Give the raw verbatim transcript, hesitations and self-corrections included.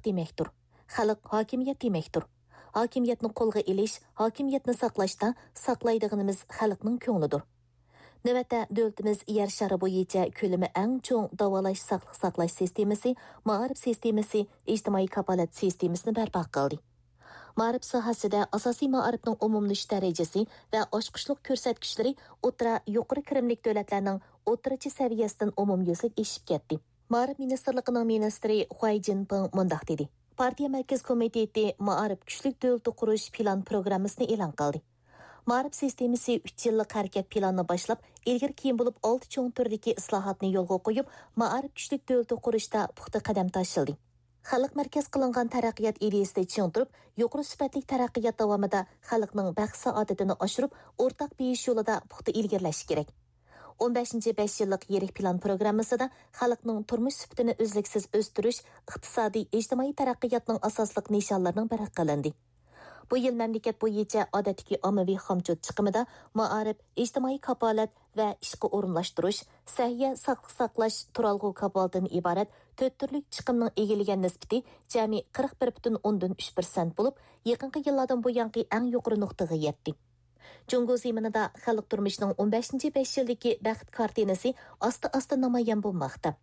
دېمەكتۇر. خەلق ھاكىمىيەت دېمەكتۇر. ھاكىمىيەتنى قولغا ئېلىش، ھاكىمىيەتنى ساقلاشتا ساقلايدىغىنىمىز خەلقنىڭ كۆڭلىدۇر. نۆۋەتتە، دۆلىتىمىز يەر شارى بويىچە كۆلىمى ئەڭ چوڭ داۋالاش، ساقلىق ساقلاش سىستېمىسى، مائارىپ سىستېمىسى، ئىجتىمائىي كاپالەت سىستېمىسىنى بەرپا قىلدى. مائارىپ ساھەسىدە ئاساسىي مائارىپنىڭ ئومۇملىشىش دەرىجىسى ۋە ئاچقۇچلۇق كۆرسەتكۈچلىرى ئوتتۇرا، يۇقىرى كىرىملىك دۆلەتلەرنىڭ ئوتتۇرىچە سەۋىيەسىدىن ئومۇميۈزلۈك ئېشىپ كەتتى. مائارىپ مىنىستىرلىقىنىڭ مىنىستىرى خۇەي جىنپىڭ مۇنداق دېدى: پارتىيە مەركىزىي كومىتېتى مائارىپ كۈچلۈك دۆلىتى قۇرۇش پىلان پروگراممىسىنى ئېلان قىلدى. مائارىپ سىستېمىسى ئۈچ يىللىق ھەرىكەت پىلانىنى باشلاپ، ئىلگىرى كېيىن بولۇپ ئالتە چوڭ تۈردىكى ئىسلاھاتنى يولغا قويۇپ، مائارىپ كۈچلۈك دۆلىتى قۇرۇشتا پۇختا قەدەم تاشلىدى. خەلق مەركەز قىلىنغان تەرەققىيات ئىدىيىسىنى چىڭ تۇرۇپ، يۇقىرى سۈپەتلىك تەرەققىيات داۋامىدا خەلقنىڭ بەخت-سائادىتىنى ئاشۇرۇپ، ئورتاق بېيىش يولىدا پۇختا ئىلگىرىلەش كېرەك. ئون بەشىنچى بەش يىللىق يىرىك پىلان پروگراممىسىدا خەلقنىڭ تۇرمۇش سۈپىتىنى ئۈزلۈكسىز ئۆستۈرۈش، ئىقتىسادىي، ئىجتىمائىي تەرەققىياتنىڭ ئاساسلىق نىشانلىرىنىڭ بىرى قىلىندى. بۇ يىل مەملىكەت بويىچە ئادەتتىكى ئاممىۋى خامچوت چىقىمىدا مائارىپ، ئىجتىمائىي كاپالەت ۋە ئىشقا ئورۇنلاشتۇرۇش، سەھىيە، ساقلىق ساقلاش، تۇرالغۇ كاپالىتىدىن ئىبارەت تۆت تۈرلۈك چىقىمنىڭ ئىگىلىگەن نىسبىتى جەمئىي قىرىق بىر پۈتۈن ئوندىن ئۈچ پىرسەنت بولۇپ، يېقىنقى يىللاردىن بۇيانقى ئەڭ يۇقىرى نۇقتىغا يەتتى. جۇڭگو زېمىنىدا خەلق تۇرمۇشىنىڭ ئون بەشىنچى بەش يىلدىكى بەخت كارتىنىسى ئاستا-ئاستا نامايان بولماقتا.